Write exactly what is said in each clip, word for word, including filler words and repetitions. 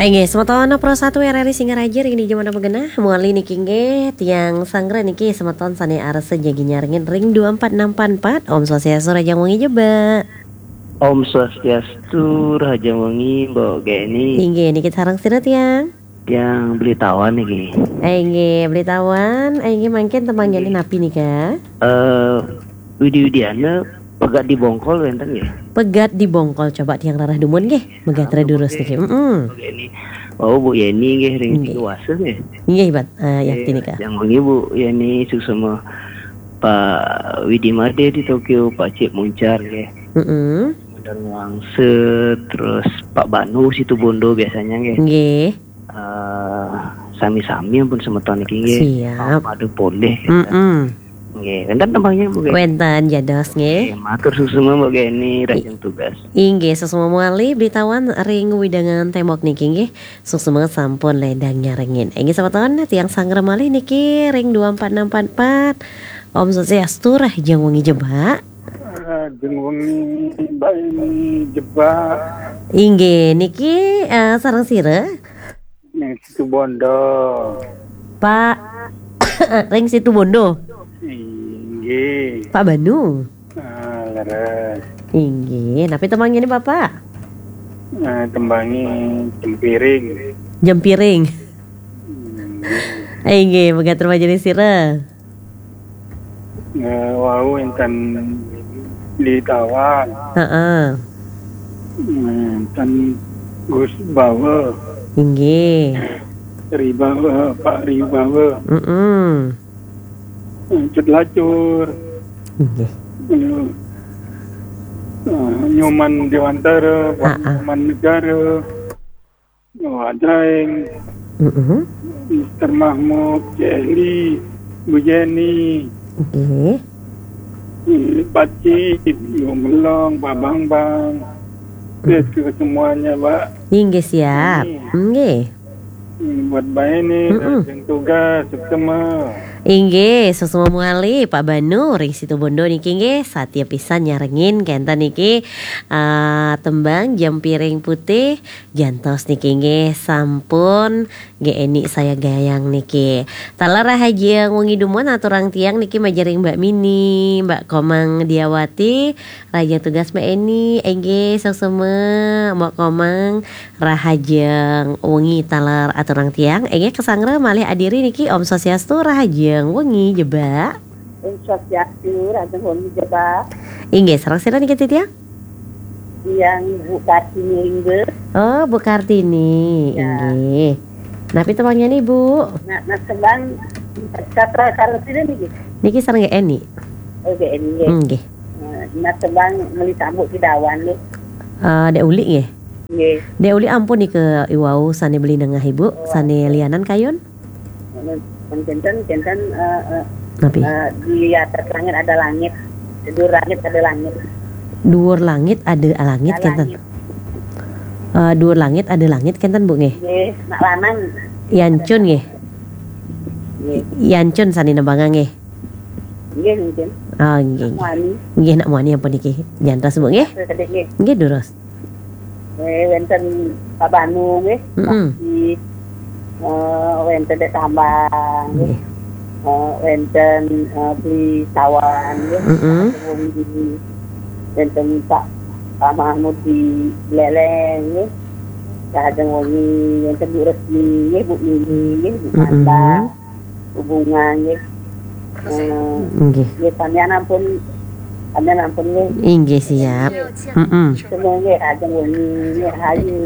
Inggih, semeton Pro satu R R I Singaraja ring dija mangkin magenah, mawali niki inggih, tiang sanggra niki semeton sane arsa jagi nyarengin ring dua empat enam empat empat. Om Swastiastu, rahajeng wengi Jebak. Om Swastiastu, rahajeng wengi Mbok Geni. Inggih, niki sareng sira tiang? Tiang Beli Tawan niki. Inggih, Beli Tawan, inggih mangkin tembangnyane napi nika? Eh, Widi-widiana pegat di bongkol wenten nggih? Pegat di bongkol, coba tiang rarah dumun nggih. Megatra durus niki. Heeh. Oke, ini. Oh, Bu Yeni nggih ring Tiga Wasa nggih. Inggih, Bat. Eh, yakti nika. Yang wengi Bu Yeni, suksma Pak Widi Made di Tokyo, Pak Cik Muncar nggih. Heeh. Madang Wangse, terus Pak Banu Situbondo biasanya nggih. Nggih. Eh, sami-sami ampun semeton niki nggih. Siap. Madu polih. Heeh. Nggih, wenten tembangnya, Bu, nggih? Wenten, dados, nggih. Nggih, matur suksma, Mbok Geni, rahajeng tugas. Inggih, suksma mawali, Beli Tawan ring wewidangan Tembok niki, nggih. Suksma sampun ledang nyarengin. Inggih, semeton, tiang sanggra malih niki ring dua empat enam empat empat. Om Swastiastu, rahajeng wengi Jebak. Rahajeng wengi, Mbak Yeni, Jebak. Inggih, niki, eh, sareng sira? Ning Situbondo. Pak, ring Situbondo. Inggih. Pak Banu. Ah, leres. Inggih, napi tembangnyane, Bapak? Eh, tembangnya Jempiring. Jempiring. Inggih. Inggih, megatur majelis sira. Eh, wau wenten Beli Tawan. Heeh. Wenten Gus Bawa. Inggih. Ri Bawa, Pak Ri Bawa. Mm-mm. Eh, Cut Lacur. Inggih. Eh, eh, Nyoman Dewantara, Pak Nyoman Negara. Wah, Daeng. Mm-mm. Mister Mahmud, Celi, Bu Jenny. Nggih. Eh, Pak Cip, Yo Melong, Pak Bambang. Terus ke semuanya, Pak. Inggih, siap. Ini. Nggih. Hmm, buat Mbak Eni, mm-mm, rahajeng tugas, suksma. Inggih, suksma mawali, Pak Banu, ring Situbondo niki nggih, satia pisan nyarengin kenten niki, ah, tembang Jempiring Putih, jantos niki nggih sampun Mbok Eni sayagayang niki. Taler rahajeng wengi dumun aturang tiang niki majeng ring Mbak Mini, Mbak Komang Diawati, rahajeng tugas Mbak Eni, inggih suksma, Mbok Komang, rahajeng wengi taler aturang tiang, inggih kasanggra malih adiri niki, Om Swastiastu, rahajeng wengi Jebak. Om Swastiastu, rahajeng wengi Jebak. Inggih, sareng sira niki titiang? Tiang Bu Kartini Lingga. Oh, Bu Kartini, ya. Inggih. Napi tembangnyane, Bu? Nah, nah, tembang satra sareng sira niki? Niki sareng Mbok Eni. Oh, Mbok Eni, nggih. Nggih. Nah, nah, tembang Meli Tambuk Kidawan nggih. Eh, Dek Uli nggih? Nggih. Dek Uli ampun nika iwau sane beli nengah Ibu, oh, sane lianan kayun? Kenten, kenten, eh, eh, napi? Eh, di atas langit ada langit, di langit ada langit. Duur langit ada langit, ada kenten. Langit. Eh, duur langit ada langit kenten, Bu, nggih? Nggih, nak lanang. Yancun nggih? Nggih. Yancun sane nembangang nggih? Nggih, mungkin. Oh, nggih, nggih. Nak muani. Nggih, nak muani ampun niki. Jantos, Bu, nggih? Sedikit, nggih. Nggih, durus. Eh, wenten Pak Banu nggih. Mm-mm. Saksi, eh, wenten Dek Tambang nggih. Nggih. Eh, wenten, eh, Beli Tawan nggih. Mm-mm. Wenten Pak, Pak Mahmud di Leleng nggih. Rahajeng wengi, wenten Bu Resmi nggih, Bu Mimi nggih, Bu, mm-mm, Manda. Hubungan nggih. Eh, nggih. Nggih, samian ampun, samian ampun nggih. Inggih, siap. Mm-mm. Semua nggih, rahajeng wengi, nggih, rahayu.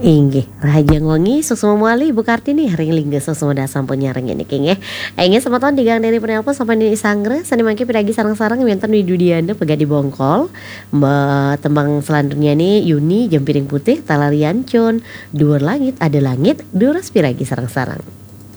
Inggih, rahajeng wengi, suksma mawali, Bu Kartini, ring Lingga Sesumeda sampun nyarengin niki nggih. Inggih, semeton tigang dari penelpon sampun disanggra, sane mangkin piragi sareng-sareng wenten Widi-widiana pegat di bongkol. Mbak, tembang selanjutnya nih, Yuni, Jempiring Putih, Taler Yancun, Duur Langit Ada Langit, durus piragi sareng-sareng.